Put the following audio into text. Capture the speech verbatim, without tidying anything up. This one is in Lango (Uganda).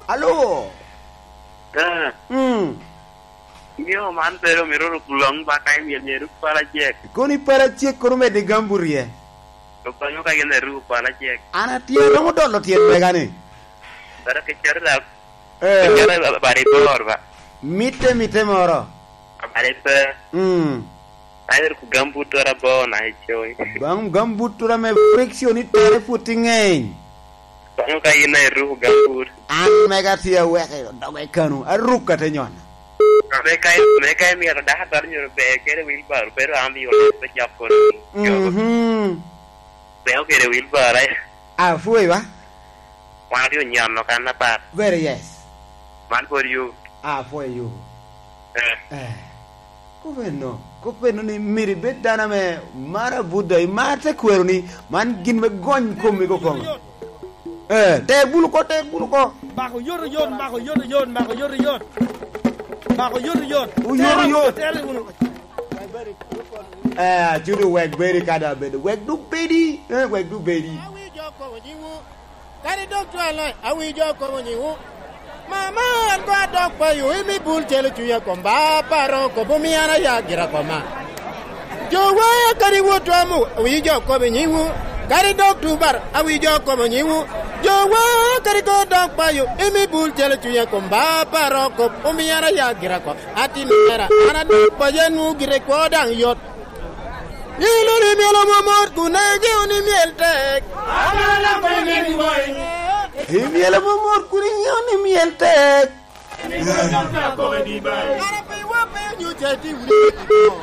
Alo. Eh. Mm. Nyo man pe omito ruk long ba ka imyel myel ruk pala cek. Kono i pala cek kono medde gambut rye. Okonyo ka gin eruk pala cek. An atye romo dolo tyen mega ni. Bara ke cari da. Eh. Ke cari ba, ba, ba, ba, ba. Mitte, mitte moro. Abade pe. Mm. Ayer ku gambut tora bo na icoy. Bang gambut tora me friction i tere put i ngeny. Bang ka in ayer ku gambut. An mega tye aweke dogo i kanu, aruk ate nyon. Me ka, me ka imito daka dal nyoro be kede wheelbarrow, pero an bi olo pe jap kono. Mhm. Be okede wheelbarrow, eh. Apwoyo ba. Wan otye onyono kan apat. Very yes. Man pwod yubu. Apwoyo yubu. Eh. Eh. Kop eno, kop eno ni myero ibed dano ame maro Buda, imar te kwero ni man gin me gony komi kokono. Eh, te bulu ko, te bulu ko. Mako yot oyot, mako yot oyot, mako yot oyot. Mako yot oyot. Oyot oyot. Tere wunu, tere wunu. Eh, acudo wek bedi ka da bedo. Wek duk bedi. Eh, wek duk bedi. Kadi dok cwale, awinyo kobo nyiŋwu. Mama, an koŋ adok payo, imi bul celo cunya kom ba paro kobo mi an aya gira koma. Jowa kadi wot twamo, awinyo jo kobo nyiŋwu. Kadi dok tubar, awinyo jo kobo nyiŋwu. Jowa kadi koŋ dok payo, imi bul celo cunya kom ba paro kobo mi an aya gira kom. Atin mera, an adok payo nwu gire kwo daŋ yot. Ilo ni myel omomot kun iŋeo ni myel tek. Imyel omomot kun iŋeo ni myel tek. Kara pe iwa pe onyo ca iti wunu.